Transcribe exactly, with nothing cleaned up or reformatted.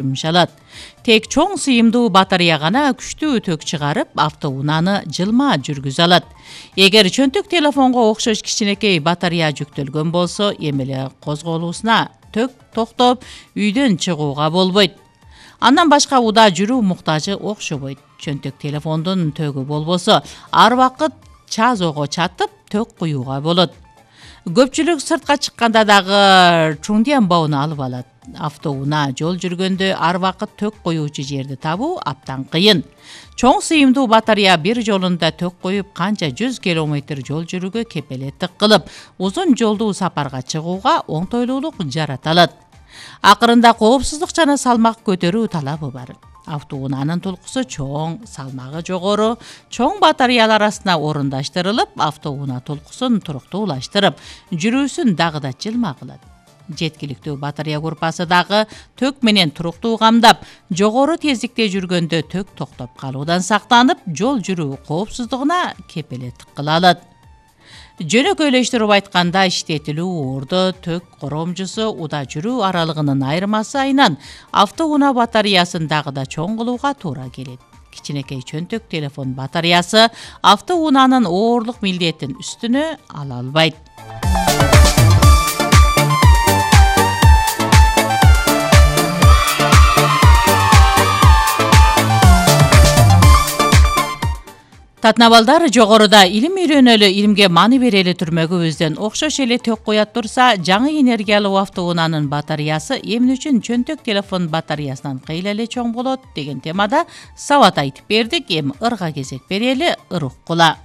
жумшалат. Тек чоң сыйымдуу батарея гана күчтүү ток чыгарып, автоунааны жылма жүргүзө алат. Эгер чөнтөк телефонго окшош кичинекей батарея жүктөлгөн болсо, эми эле козголуусуна ток токтоп, үйдөн чыгууга болбойт. Андан башка уда жүрүү муктажы окшобойт. Чөнтөк телефондун тогу болбосо, ар убакыт чазоого чатып, ток куюуга болот. Көпчүлүк сыртка чыкканда дагы чуңдиан бауну алып алат. Автоунаа жол жүргөндө ар убакыт ток коюучу жерди табуу абдан кыйын. Чоң сыйымдуу батарея бир жолунда ток коюп, канча жүз километр жол жүрүүгө кепелеттик кылып, узун жолдуу сапарга чыгууга оңтойлуулук жарата алат. Акырында коопсуздук жана салмак көтөрүү талабы бар. Автоунаанын тулкусу чоң, салмагы жогору, чоң батареялар арасына орундаштырылып, автоунаа тулкусун туруктуулаштырып, жүрүүсүн дагы да жылма кылат. Жеткиликтүү батарея группасы дагы ток менен туруктуу камдап, жогору тездикте жүргөндө ток токтоп калуудан сактанып, жол жүрүү коопсуздугуна кепелеттик кыла алат. Жөнөкөйлөштүрүп айтканда, иштетилүү ордо, ток коромжусу, уда жүрүү аралыгынын айырмасы айынан автоунаа батареясын дагы да чоң кылууга туура келет. Кичинекей чөнтөк телефон батареясы автоунаанын оорлук милдетин үстүнө ала албайт. Татнабалдар, жогоруда илим үйрөнөлү, илимге маани берели түрмөгүбүздөн окшош эле ток коят турса, жаңы энергиялуу автоунаанын батареясы эмне үчүн чөнтөк телефон батареясынан кыйла эле чоң болот деген темада сабат айтып бердик. Эми ырга кезек берели, ыр уккула.